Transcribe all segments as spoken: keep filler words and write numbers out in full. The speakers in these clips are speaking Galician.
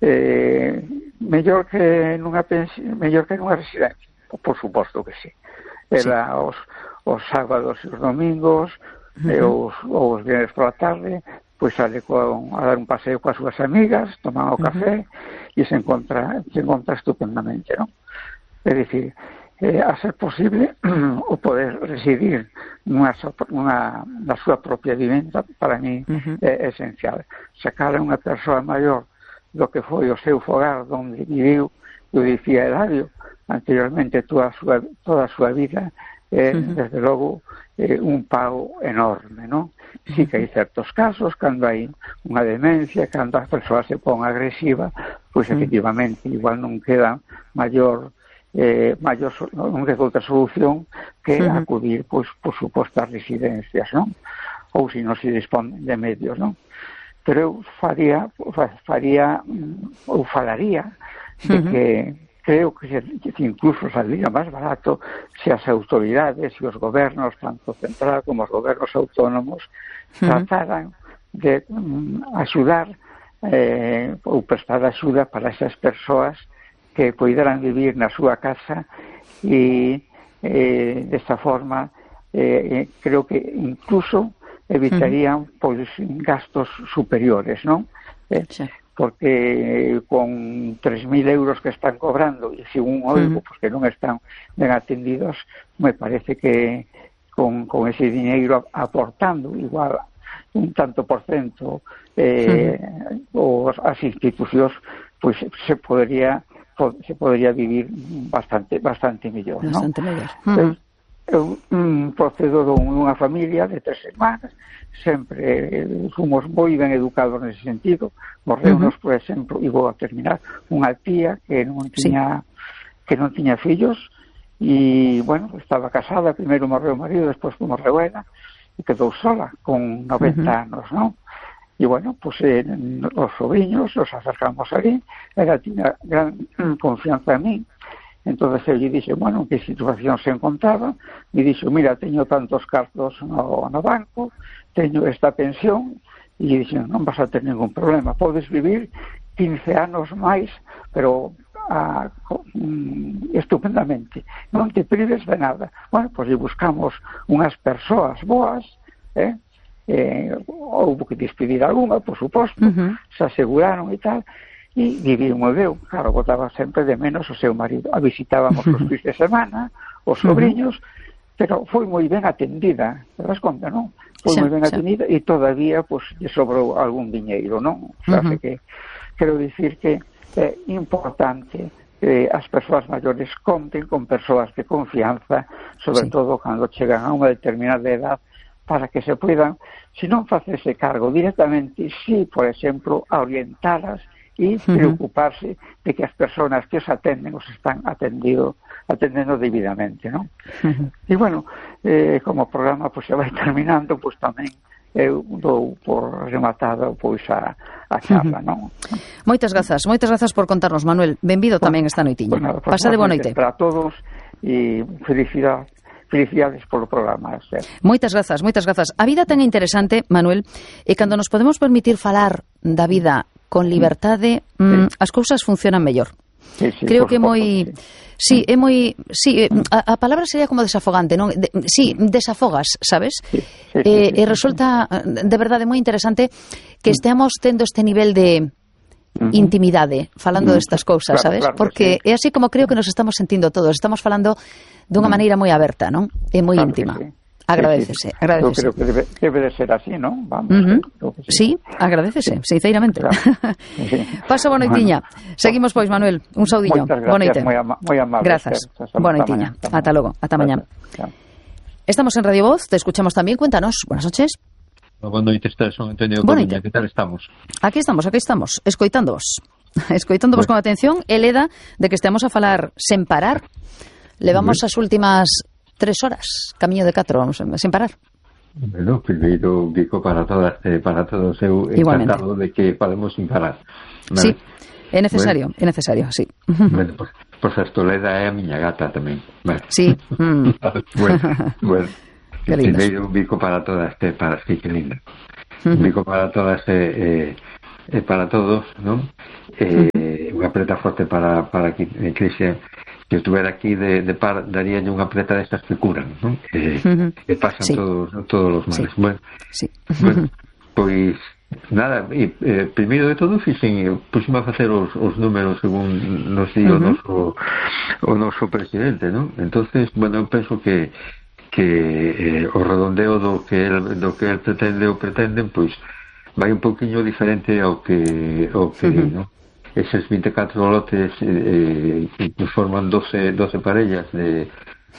eh, mellor que nunha pensión, mellor que nunha residencia, por suposto que sí. Era sí. os, os sábados e os domingos, uh-huh. e os, os viernes pola tarde, pois sale con, a dar un paseo coas súas amigas, toman o café, uh-huh. e se encontra, se encontra estupendamente, non? É dicir, eh, a ser posible o poder residir nunha, nunha, na súa propia vivenda, para mí uh-huh. é esencial. Sacar a unha persoa maior do que foi o seu fogar onde viviu, eu dicía Eladio anteriormente, toda a súa, toda a súa vida, é, uh-huh. desde logo, é, un pago enorme, non? Sí que hai certos casos, cando hai unha demencia, cando a persoa se pon agresiva, pois uh-huh. efectivamente, igual non queda maior Eh, maior, non queda outra solución que uh-huh. acudir, pois, por suposto, ás residencias, non? Ou se non se dispón de medios, non? Pero eu faría, faría ou falaría de uh-huh. que creo que, que incluso saldría máis barato se as autoridades e os gobernos, tanto central como os gobernos autónomos, uh-huh. trataran de um, axudar eh, ou prestar axuda para esas persoas que poideran vivir na súa casa e eh, desta forma eh, creo que incluso evitarían uh-huh. pois gastos superiores, non? Eh, sí. Porque con tres mil euros que están cobrando e según oigo, uh-huh. pois que non están ben atendidos, me parece que con, con ese dinheiro aportando igual un tanto por cento eh, uh-huh. os, as institucións, pois se podría se podría vivir bastante bastante mellor, bastante non? mellor. Uh-huh. Eu um, procedo dunha familia de tres hermanas, sempre eh, fomos moi ben educados nese sentido. Morreunos, uh-huh. por exemplo, e vou a terminar, unha tía que non tiña sí. que non tiña fillos e, bueno, estaba casada, primeiro morreu o marido, despois morreu ela e quedou sola con noventa uh-huh. anos, non? E, bueno, pues eh, os sobriños nos acercamos ali, ela tiña gran confianza en mí, entonces eu lle dixe, bueno, en que situación se encontraba, me dixo, mira, teño tantos cartos no, no banco, teño esta pensión, e lle dixe, non vas a ter ningún problema, podes vivir quince anos máis, pero a, mm, estupendamente, non te prives de nada. Bueno, pues lle buscamos unhas persoas boas, eh, Eh, houve que despedir alguna, por suposto, uh-huh. se aseguraron e tal, e viviu moi ben. Claro, botaba sempre de menos o seu marido. A visitábamos os fins de semana, os sobriños, uh-huh. pero foi moi ben atendida, te das conta, non? Foi sí, moi ben atendida sí. e todavía, pues, lle sobrou algún diñeiro, non? O sea, uh-huh. que quero dicir que é importante que as persoas maiores conten con persoas de confianza, sobre sí. todo cando chegan a unha determinada edad, para que se puedan, se non facerse cargo directamente, sí, por exemplo, a orientalas e uh-huh. preocuparse de que as persoas que os atenden os están atendido, atendendo debidamente, non? Uh-huh. E, bueno, eh, como o programa pues, se vai terminando, pues tamén eu dou por rematada pois a, a charla, uh-huh. non? Moitas grazas, moitas grazas por contarnos, Manuel. Benvido bueno, tamén esta noitiña. Bueno, pues, Pasa de boa noite. Para todos e felicidade. Felicidades polo programa. Ser. Moitas grazas, moitas grazas. A vida tan interesante, Manuel, e cando nos podemos permitir falar da vida con liberdade, sí. mmm, as cousas funcionan mellor. Sí, sí, Creo que é moi... Sí. sí, é moi... Sí, a, a palabra sería como desafogante, non? De, sí, desafogas, sabes? Sí, sí, sí, eh, sí, e resulta, de verdade, moi interesante que esteamos tendo este nivel de uh-huh. intimidade falando uh-huh. destas cousas, claro, sabes? Claro, Porque sí. é así como creo que nos estamos sentindo todos. Estamos falando dunha maneira moi aberta, non? E moi claro íntima. Sí. Agradecese, sí, sí. agradecese. Eu creo que debe, debe de ser así, non? Vamos. Uh-huh. Sí. sí, agradecese, sí. sinceramente. Claro. Sí. Pasa boa noitiña. Bueno. Seguimos, pois, Manuel. Un saudiño. Boa noite. Moi, ama moi amable. Grazas. Boa noitiña. Ata logo. Ata mañá. Estamos en Radio Voz. Te escuchamos tamén. Cuéntanos. Buenas noches. Boa noite, son Antonio Coruña. Que tal estamos? Aquí estamos, aquí estamos. Escoitándoos. Escoitándoos con atención. E leda de que estemos a falar sen parar. Levamos as últimas tres horas, camiño de catro, sen parar. Bueno, primeiro digo para todas, eh, para todos eu encantado de que podemos sin parar. ¿Vale? Sí, é necesario, bueno, é necesario, sí. Bueno, por, por certo, Leda é a miña gata tamén. Vale. Sí. Mm. bueno, bueno. Primeiro digo para todas, eh, para sí, que linda. Uh-huh. Digo para todas, eh, eh, e para todos, non? Eh, unha preta forte para, para que Cristian, que estuviera aquí de, de par, daríalle unha preta destas que curan, non? Eh, uh-huh. Que pasan sí. todos, todos os males. Sí. Bueno, sí. bueno, pois nada, e, eh, primeiro de todo fixen, puxime a facer os, os números según nos di uh-huh. o noso o noso presidente, non? Entonces, bueno, eu penso que que eh, o redondeo do que el, do que el pretende ou pretenden, pois vai un poquinho diferente ao que ao que uh-huh. non? Eses vinte e catro lotes eh, que forman doce, doce parellas de,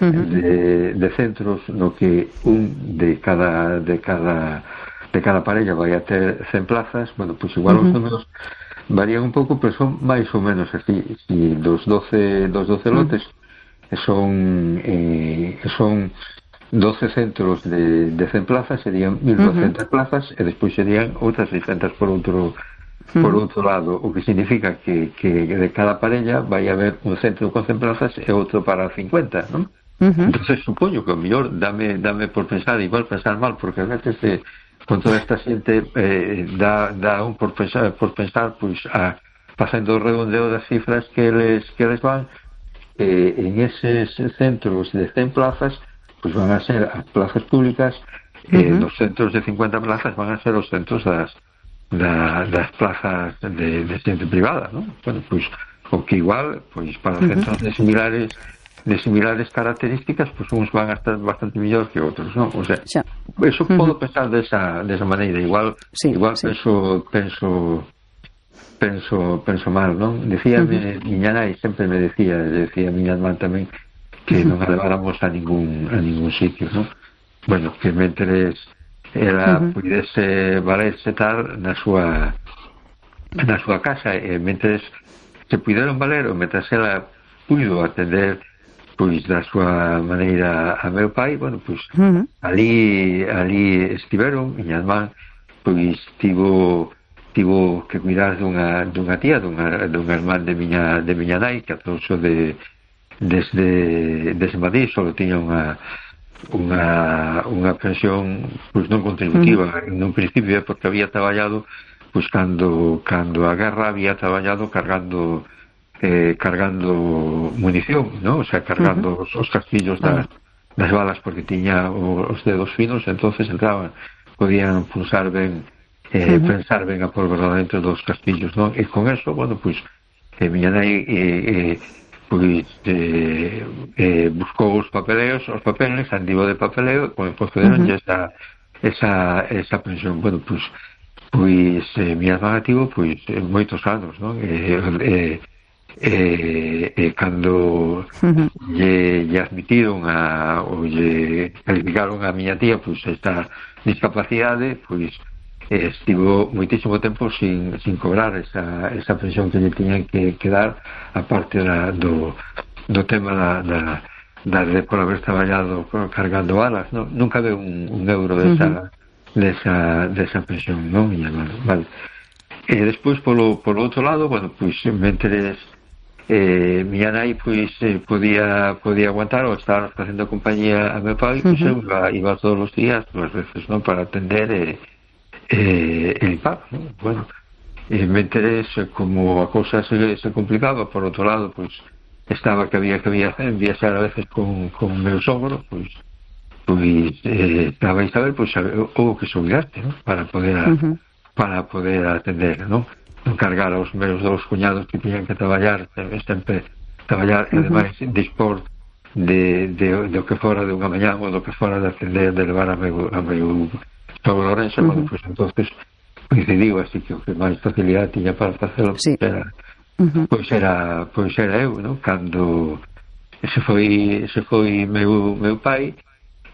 uh-huh. de, de centros no que un de cada de cada de cada parella vai a ter cen plazas. Bueno, pois igual uh-huh. os números varían un pouco, pero son máis ou menos así. Si dos doce, dos doce uh-huh. lotes son eh, son doce centros de, de cen plazas, serían mil doscientas uh-huh. plazas, e despois serían outras seiscentas por outro por outro lado, o que significa que, que de cada parella vai haber un centro con cen plazas e outro para cincuenta, non? Uh-huh. Entonces supoño que o mellor dame, dame por pensar, igual pensar mal, porque a veces eh, con toda esta xente eh, dá, dá un por pensar, por pensar pois a, facendo o redondeo das cifras que les, que les van eh, en eses centros de cen plazas, pois van a ser as plazas públicas, eh, uh-huh. nos centros de cincuenta plazas van a ser os centros das Da, das plazas de, de xente privada, non? Bueno, pois o que igual, pois para uh-huh. centros de similares de similares características, pois uns van a estar bastante mellor que outros, non? O sea, xa. Eso uh-huh. podo pensar desa desa maneira, igual sí, igual sí. penso penso penso penso mal, non? Decíame, uh-huh. miña nai sempre me decía, decía miña irmán tamén, que uh-huh. non a leváramos a ningún a ningún sitio, non? Bueno, que mentres ela uh-huh. pudese valerse tal na súa na súa casa, e mentres se puderon valer, ou mentres ela puido atender pois da súa maneira a meu pai, bueno, pois uh-huh. ali ali estiveron. Miña irmán pois tivo tivo que cuidar dunha dunha tía, dunha dunha irmán de miña de miña nai, que atouso de desde desde Madrid, só tiña unha unha unha pensión pois non contributiva uh-huh. nun principio, porque había traballado pois cando cando a guerra había traballado cargando eh, cargando munición, ¿no? O sea, cargando uh-huh. os, os castillos das, das balas, porque tiña os dedos finos, entonces entraban, podían pulsar ben eh, uh-huh. pensar ben a pólvora dentro dos castillos, ¿no? E con eso, bueno, pois eh, miña nai eh, eh, pois eh, eh, buscou os papeleos, os papeles, andivo de papeleo, pois concederon uh-huh. esa, esa, esa pensión. Bueno, pois pois eh, mi irmán ativo pois moitos anos, non? E eh, eh, eh, cando uh-huh. lle, lle admitiron a, ou lle calificaron a miña tía pois esta discapacidade, pois eh, estivo moitísimo tempo sin, sin cobrar esa, esa pensión que lle tiñan que, que dar, aparte da, do, do tema da, da, da de por haber traballado cargando balas, ¿no? Nunca ve un, un euro desa, uh-huh. desa, desa pensión, non? Vale. E despois, polo, polo outro lado, bueno, pois mentres eh, miña nai pois eh, podía, podía aguantar ou estar facendo compañía a meu pai, pois uh-huh. eu iba, iba todos os días, dúas veces, non? Para atender e eh, Eh, el paro, ¿no? Bueno, eh, me interesa como a cousa se, se complicaba. Por outro lado, pois estaba que había que había viaxar a veces con, con o meu sogro, pois pois eh, estaba a saber, pois houve que subirarte, ¿no? Para poder a, uh-huh. para poder atender, ¿no? Non cargar aos meus dous cuñados que tiñan que traballar, sempre traballar, uh-huh. e ademais dispor de, de, de o que fora de unha mañá, ou do que fora de atender, de levar a meu, a meu sobre Lorenzo, uh-huh. bueno, pues entonces coincidiu, así que o que máis facilidade tiña para facelo sí. era, uh-huh. pois era pois era eu, ¿no? Cando se foi se foi meu, meu pai,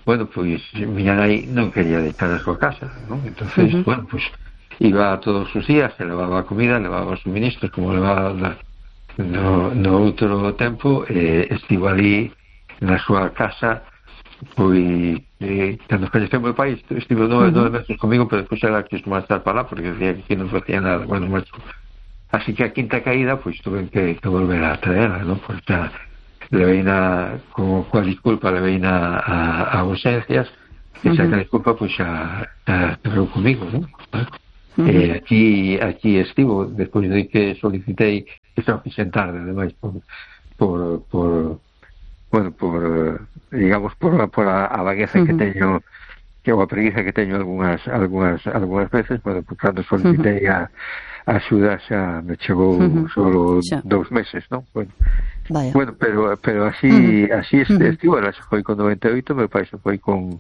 bueno, pois miña nai non quería deixar a súa casa, ¿no? Entonces, uh-huh. bueno, pois iba todos os días, se levaba a comida, levaba os suministros, como levaba na, no, no outro tempo, eh, estivo ali na súa casa. Pois eh, cando falleceu meu pai estive nove, uh-huh. nove meses comigo, pero despois era que máis estar para lá porque decía que non facía nada. Bueno, macho, así que a quinta caída pois tuve que, que volver a traerla, ¿no? Pois xa levei na con coa disculpa levei na a, a ausencias, e xa uh-huh. que a disculpa pois xa, xa quedou comigo, ¿no? Uh-huh. Eh, aquí aquí estivo, despois de que solicitei, isto fixen tarde, ademais, por, por, por bueno, por, digamos, por, por a, a vagueza uh-huh. que teño, que ou a preguiza que teño algunhas algunhas algunhas veces, bueno, pues cando solicitei uh-huh. a a axuda xa me chegou uh-huh. solo xa. dous meses, non? Bueno, Vaya. bueno, pero pero así uh-huh. así uh-huh. estivo, ela foi con noventa e oito, meu pai se foi con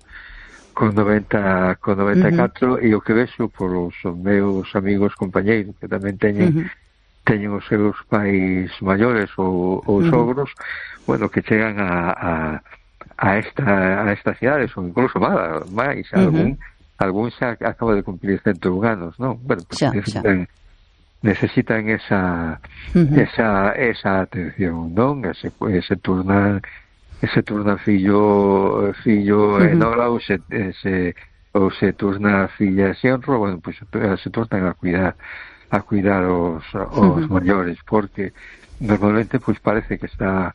con noventa, con noventa e catro, uh-huh. e o que vexo por os meus amigos compañeiros que tamén teñen uh-huh. teñen os seus pais maiores ou, ou uh-huh. sogros, bueno, que chegan a, a, a esta a estas cidades, ou incluso máis, máis uh-huh. algún, algún xa acaba de cumplir ciento un anos, non? Bueno, pues xa, necesitan xa. necesitan esa uh-huh. esa esa atención, non? Ese, ese turnar ese turna fillo fillo uh-huh. en hora ou se, se ou se turna filla xenro, bueno, pois pues, se turnan a cuidar a cuidar os, os uh-huh. maiores, porque normalmente pois pues, parece que está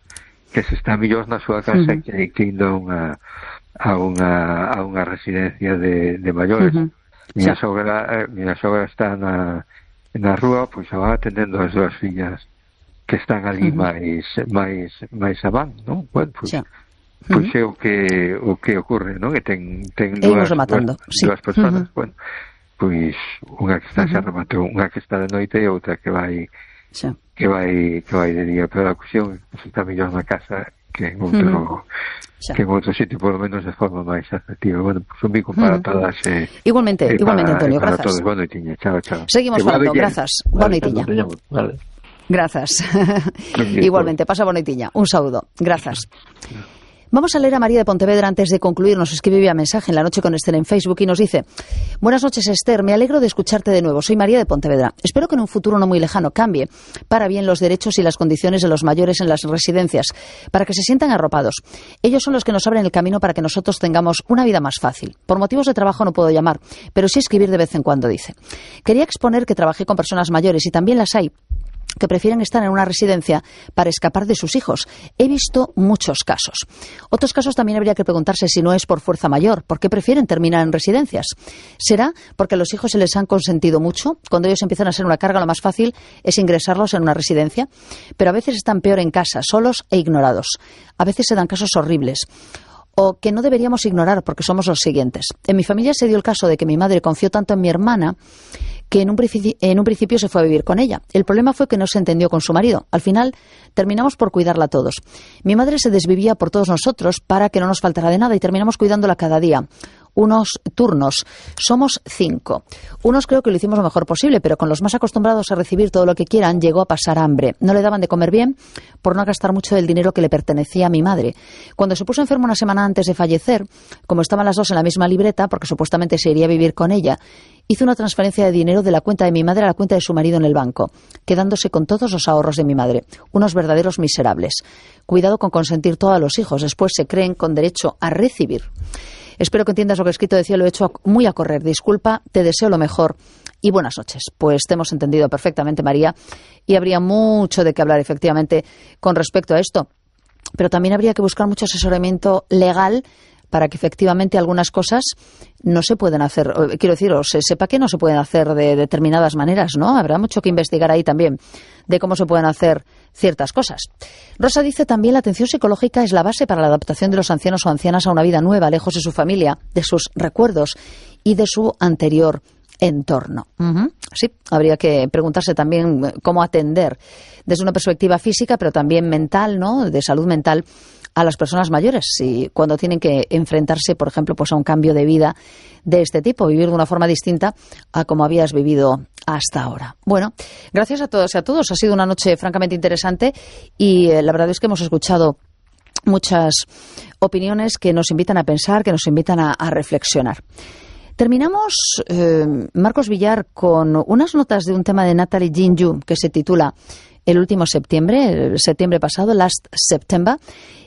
que se está mellor na súa casa uh-huh. que, que indo a unha a unha a unha residencia de, de maiores. Uh-huh. Miña sí. sogra, miña sogra está na na rúa, pois pues, va atendendo as dúas fillas que están ali uh-huh. máis máis máis avan, non? Bueno, pois pues, uh-huh. pues é o que o que ocorre, non? Que ten ten dúas, dúas, sí. dúas persoas, uh-huh. bueno, pois unha que está uh-huh. xa rematou, unha que está de noite e outra que vai sí. que vai que vai de día, pero a cuestión é que está mellor na casa que en outro uh-huh. que en outro sitio, por lo menos de forma máis afectiva. Bueno, pues un bico para uh-huh. todas. Eh, igualmente, eh, igualmente, para, Antonio, eh, para grazas. Todos. Boa noitiña, chao, chao. Seguimos falando, grazas. Boa noitiña. Vale. Grazas. Igualmente, pasa boa noitiña. Un saúdo. Grazas. Vamos a leer a María de Pontevedra antes de concluir. Nos escribe vía mensaje en La Noche con Esther en Facebook y nos dice: buenas noches, Esther, me alegro de escucharte de nuevo. Soy María de Pontevedra. Espero que en un futuro no muy lejano cambie para bien los derechos y las condiciones de los mayores en las residencias, para que se sientan arropados. Ellos son los que nos abren el camino para que nosotros tengamos una vida más fácil. Por motivos de trabajo no puedo llamar, pero sí escribir de vez en cuando, dice. Quería exponer que trabajé con personas mayores y también las hay que prefieren estar en una residencia para escapar de sus hijos. He visto muchos casos. Otros casos también habría que preguntarse si no es por fuerza mayor. ¿Por qué prefieren terminar en residencias? ¿Será porque a los hijos se les han consentido mucho? Cuando ellos empiezan a ser una carga, lo más fácil es ingresarlos en una residencia. Pero a veces están peor en casa, solos e ignorados. A veces se dan casos horribles. O que no deberíamos ignorar porque somos los siguientes. En mi familia se dio el caso de que mi madre confió tanto en mi hermana que en un, en un principio se fue a vivir con ella. El problema fue que no se entendió con su marido. Al final terminamos por cuidarla todos. Mi madre se desvivía por todos nosotros para que no nos faltara de nada y terminamos cuidándola cada día. Unos turnos. Somos cinco. Unos creo que lo hicimos lo mejor posible, pero con los más acostumbrados a recibir todo lo que quieran, llegó a pasar hambre. No le daban de comer bien por no gastar mucho del dinero que le pertenecía a mi madre. Cuando se puso enfermo una semana antes de fallecer, como estaban las dos en la misma libreta, porque supuestamente se iría a vivir con ella, hizo una transferencia de dinero de la cuenta de mi madre a la cuenta de su marido en el banco, quedándose con todos los ahorros de mi madre. Unos verdaderos miserables. Cuidado con consentir todo a los hijos, después se creen con derecho a recibir. Espero que entiendas lo que he escrito, decía, lo he hecho muy a correr. Disculpa, te deseo lo mejor y buenas noches. Pues te hemos entendido perfectamente, María, y habría mucho de qué hablar, efectivamente, con respecto a esto. Pero también habría que buscar mucho asesoramiento legal para que efectivamente algunas cosas no se pueden hacer, quiero decir, o se sepa que no se pueden hacer de determinadas maneras, ¿no? Habrá mucho que investigar ahí también de cómo se pueden hacer ciertas cosas. Rosa dice también: la atención psicológica es la base para la adaptación de los ancianos o ancianas a una vida nueva, lejos de su familia, de sus recuerdos y de su anterior entorno. Uh-huh. Sí, habría que preguntarse también cómo atender desde una perspectiva física, pero también mental, ¿no? De salud mental, a las personas mayores, y cuando tienen que enfrentarse, por ejemplo, pues a un cambio de vida de este tipo, vivir de una forma distinta a como habías vivido hasta ahora. Bueno, gracias a todos y a todos. Ha sido una noche francamente interesante y eh, la verdad es que hemos escuchado muchas opiniones que nos invitan a pensar, que nos invitan a, a reflexionar. Terminamos, eh, Marcos Villar, con unas notas de un tema de Natalie Jinju que se titula el último septiembre, el septiembre pasado, Last September.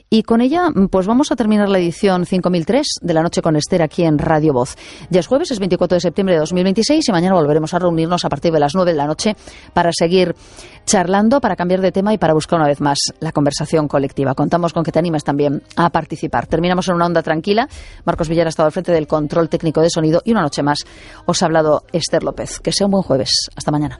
Y con ella, pues vamos a terminar la edición cinco mil tres de La Noche con Esther aquí en Radio Voz. Ya es jueves, es veintikuatro de septiembre de dos mil veintiséis y mañana volveremos a reunirnos a partir de las nueve de la noche para seguir charlando, para cambiar de tema y para buscar una vez más la conversación colectiva. Contamos con que te animes también a participar. Terminamos en una onda tranquila. Marcos Villar ha estado al frente del control técnico de sonido y una noche más os ha hablado Esther López. Que sea un buen jueves. Hasta mañana.